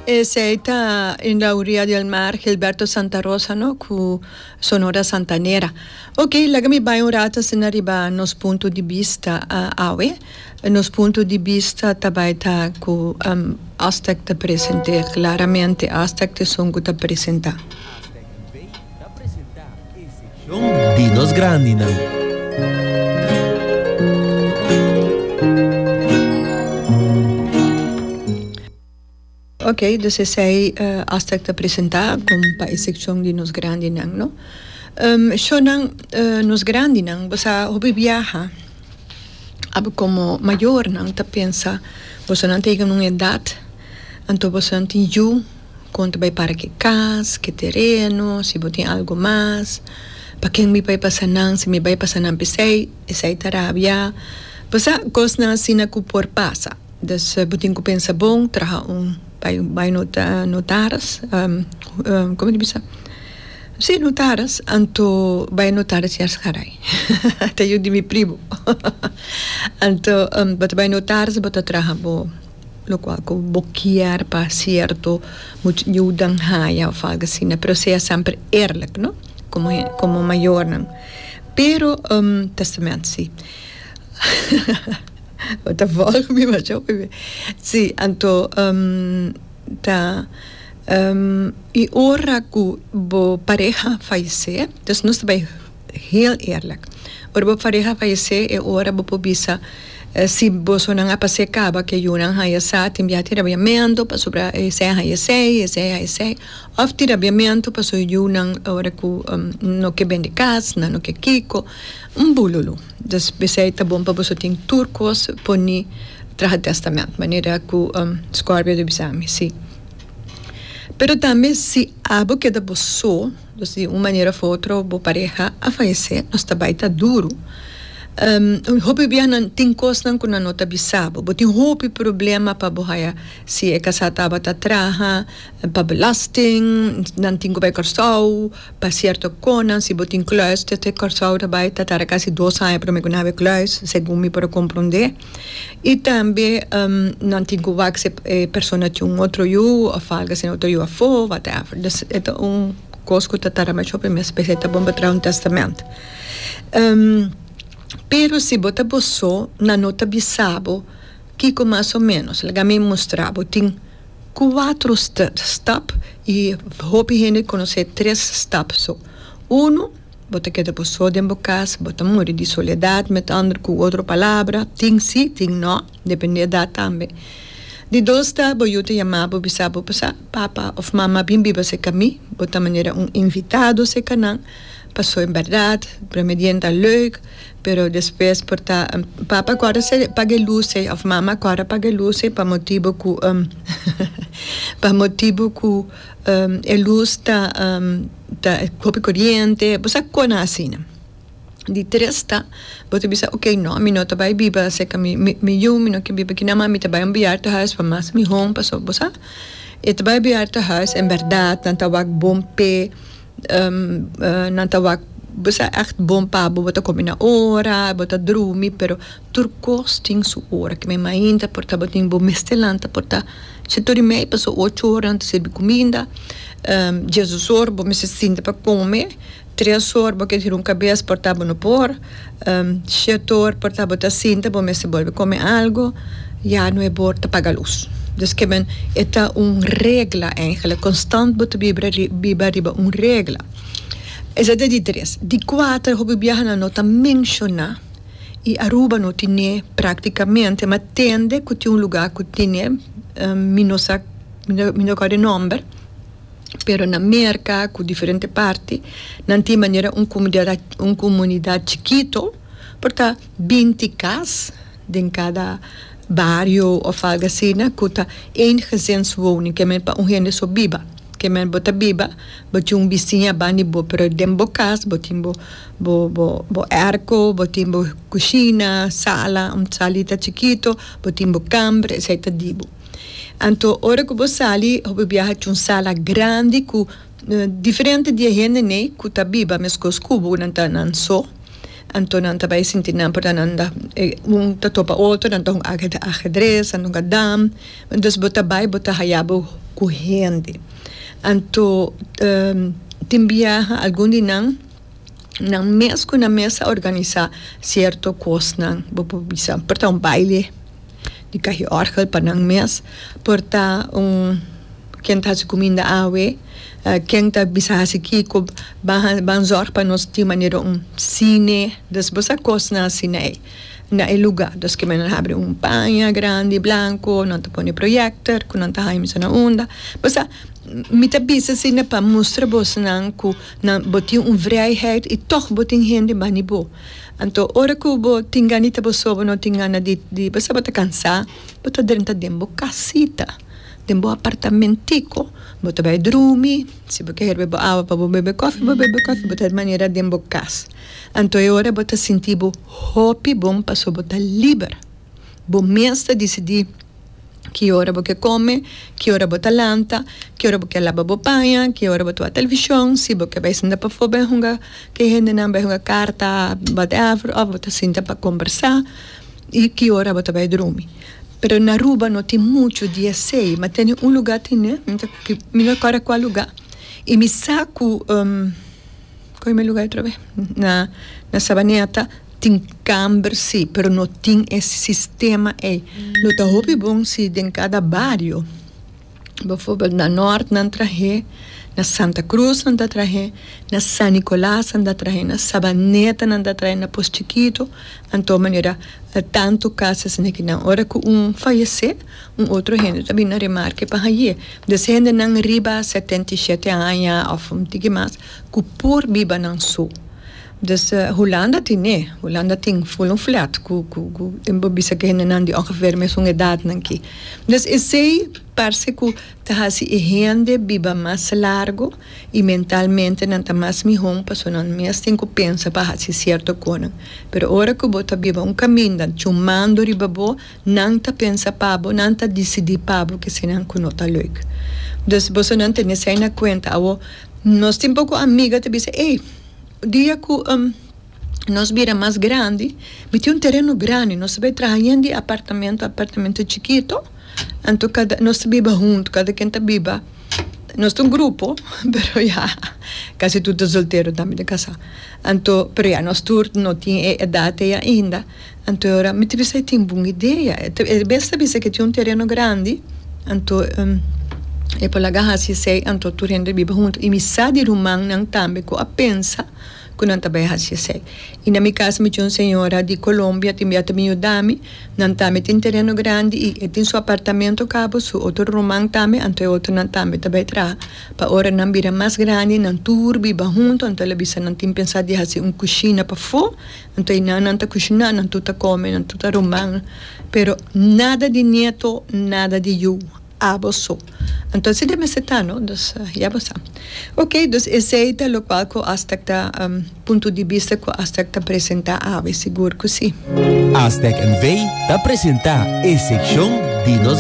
Esey ta En la orilla del mar Gilberto Santa Rosa no cu Sonora Santanera. Ok laga mi bay un rato asina riba nos punto di bista awe. Nos punto di bista ta bay ta cu Aztec ta presente claramente Aztec ta esun cu ta presenta. Aztec NV ta presenta e seccion di nos grandinan. Ok, dus esei Aztec ta presenta con pa e seccion di nos grandinan, no? Shownan nos grandinan, bo sa hopi biaha abo como mayornan ta pensa bosonan ta yega na un edad, anto bosonan tin yu con ta bay para ke cas, ke tereno, si bo tin algo mas, pa ken mi bay pasa nan, si mi bay pasa nan p'esei, esei ta rabia, bo sa cosnan asina cu por pasa. Dus bo tin ku pensa bon, traha un bai bai nota notaris komo ta bisa? Si notaris, anto bai notaris Yarsgaray ta yu di mi primo anto bo ta bai notaris bo ta traha bo lokual ku bo kier pa sierto yudan haya òf algu asina pero sea semper eerlijk no komo komo mayornan pero testament si. Bo ta volg mi masha hopi be. Si, anto ta y ora cu bo pareha fayece, dus nos ta bay heel eerlijk, ora bo pareha fayece e ora bo por bisa si bosonan a pase caba ke yunan haya sa tin bia tin rabiamento pasobra esey a haya esey, esey a haya esey, of tin rabiamento pasobra yunan ora cu no ke bende cas, nan no ke kico. Un bululu. Dus p'esei ta bon pa boso tin tur kos poni traha tèstamènt, manera ku Scorpio ta bisa mi, si. Pero tambe si abo keda bo so, dus di un manera of otro bo pareha a fayesé, nos ta bai ta duru. Hopi bia nan tin kosnan ku nan no ta bisa bo. Bo tin hopi problema pa bo haya si e kasá tabata traha pa belasting, nan tin ku bai Kòrsou. Pa sierto konan si bo tin kluis te te Kòrsou ta bai ta tarda kasi dos aña prome ku nan habi kluis segun mi por a komprondé i tambe nan tin ku wak si e persona tin un otro yu òf algu asina otro yu afó whatever dus e ta un kos ku ta tarda masha hopi mes p'esei ta bon pa traha un tèstamènt pero si bo ta bo so nan no ta bisa bo kiko mas o ménos laga mi mustra bo tin. Cuatro stap y hopi hende conoce tres stap so. Uno, bo ta keda bo so den bo cas, bo ta muri di soledad, met ander cu otro palabra, tin si, tin no, depende edad tambe. Di dos ta, bo yu ta yama bo bisa bo, pasa papa of mama bin biba cerca mi, bo ta manera un invitado cerca nan, paso en berdad, prome dia ta leuk, Pero despues por ta papa ku ora se paga e lus ei of mama ku ora paga e lus ei pa motibu ku pa motibu ku e lus ta ta hopi koriente bo sa kona asina. Di tres ta bo ta bisa oke no mi no ta bai biba serka mi mi yu mi no ke biba aki nan ma mi ta bai un bejaardenhuis pa mas mihó pasobra bo sa e ta bai bejaardenhuis en bèrdat nan ta wak bon p'e. Nan ta wak bo sa ègt bon pa bo, bo ta kome na ora, bo ta drumi, pero tur kos tin su ora. Ke mi mainta por ta bo tin bo mester lanta por ta shete ora i mei paso ocho ora nan ta sirbi kuminda, diesdos or bo mester sinta pa kome, tres or bo ke tira un kabes por ta bo no por, shete or por ta bo ta sinta bo mester bolbe kome algo. Ya no e bor ta paga lus. Dus ke men e ta un regla eigenlijk. Constant bo ta bibra biba riba un regla. Esei ta di tres. Di kuater hopi biaha nan no ta menshoná i Aruba no tine praktikamente ma tende ku tin un lugá ku tine mi no sa mi no kòrda e nòmber pero na Merka ku diferente parti nan tin manera un komunidat un komunidat chikito por ta binti kas. Den kada bario of algo asina ku ta eengezinswoning ke men pa un hende so biba. Ke men bo ta biba bo tin un bisiña banda di bo pero den bo kas bo tin bo bo bo bo airco, bo tin bo kushina, sala, un salita chikito, bo tin bo kamber esei ta di bo. Anto ora ku bo sali hopi biaha tin un sala grandi ku diferente di e hendenan ku ta biba meskos ku bo nan ta nan so. Anto nan ta bai sinti nan por ta nan ta un ta topa otro, nan ta hunga ahedres, nan ta hunga dam. Dus bo ta bai bo ta haya bo ku hende. Anto tin biaha algun di nan, nan mes ku nan mes a organisá sierto kosnan, bo por bisa por ta un baile di kahi òrgel pa nan mes, por ta un ken ta hasi kuminda awe, ken ta bisa hasi kiko, ban ban zòrg pa nos tin manera un sine, dus bo sa kosnan asina ei na e lugá. Dus ke men a habri un paña grandi blanko, nan ta pone proyèkter ku nan ta haña misa na unda, bo sa mi ta bisa asina pa mustra bosnan ku Nan bo tin un vrijheid i tòg bo tin hende bani bo. Anto ora ku bo tin gana di ta bo so, bo no tin gana di di bo sa bo ta kansá, bo ta drenta den bo kasita, den bo apartamentiko, bo ta bai drumi, si bo ke herbe bo awa pa bo bebe kòfi, bo bebe kòfi, bo ta manera den bo kas. Anto e ora bo ta sinti bo hopi bon pasobra bo ta liber. Bo mes ta disidí. Ki ora bo ke kome, ki ora bo ta lanta, ki ora bo ke laba bo paña, ki ora bo ta wak televishon, si bo ke bai sinta pafó bai hunga ku e hendenan, bai hunga karta, whatever, òf bo ta sinta pa kombersá i ki ora bo ta bai drumi. Pero na Aruba no tin muchu di esei, ma tene un lugá tene, mi no kòrda kua lugá, i mi sa ku. Koe mi luga otra vez? Na na Sabaneta tin kamber si, pero no tin e sistema ei. Lo ta hopi bon si den kada bario, bijvoorbeeld na Noord nan trahe, na Santa Cruz nan ta trahe, na San Nicolas nan ta trahe, na Sabaneta nan ta trahe, na Pos Chikito, anto manera tanto kas asina ki nan ora ku un fayesé, un otro hende ta bini na remarke pa haye. Des hendenan riba 77 aña òf un tiki mas ku por biba nan so. Dus Hulanda tine, Hulanda tin ful un flat ku ku ku bo bisa ku hendenan di ongeveer mesun edatnan ki. Dus esei parse ku ta hasi e hende biba mas largo i mentalmente nan ta mas mihó pasobra nan mes tin ku pensa pa hasi sierto konan. Pero ora ku bo ta biba un kaminda chumando riba bo, Nan ta pensa pa bo, nan ta disidí pa bo kesinan ku no ta leuk. Dus bosonan tene esei na kuenta. Awor, nos tin poko amiga ta bisa, Ey, dia ku nos bira mas grandi, mi tin un tereno grandi, nos ta bai traha yen di apartamento, apartamento chikito, anto kada, nos ta biba huntu, kada ken ta biba, nos ta un grupo, pero ya, kasi tur ta soltero tambe ta kasá. Anto, pero ya nos tur no tin e edat ei ainda. Anto e ora mi ta bisa e tin bon idea. E bes ta bisa ke tin un tereno grandi, anto e por laga hasi esei, anto tur hende biba huntu. I mi sa di rumannan tambe ku a pensa ku nan ta bai hasi esei. I na mi kas mi tin un señora di Colombia tin bia ta bin yuda mi, nan tambe tin tereno grandi i e tin su apartamento kaba, su otro ruman tambe, anto e otronan tambe ta bai traha. Pa ora nan bira mas grandi nan tur biba huntu, anto el a bisa nan tin pensa di hasi un kushina pafó. Anto einan nan ta kushiná, nan tur ta kome, nan tur ta ruman, pero nada di nieto, nada di yu, abo so. Anto asina e mester ta, no? Dus, ya bo sa. Ok, dus esei ta lokual ku Aztec ta, punto di bista ku Aztec ta presentá awe, sigur ku si. Aztec NV ta presentá e sekshon di nos.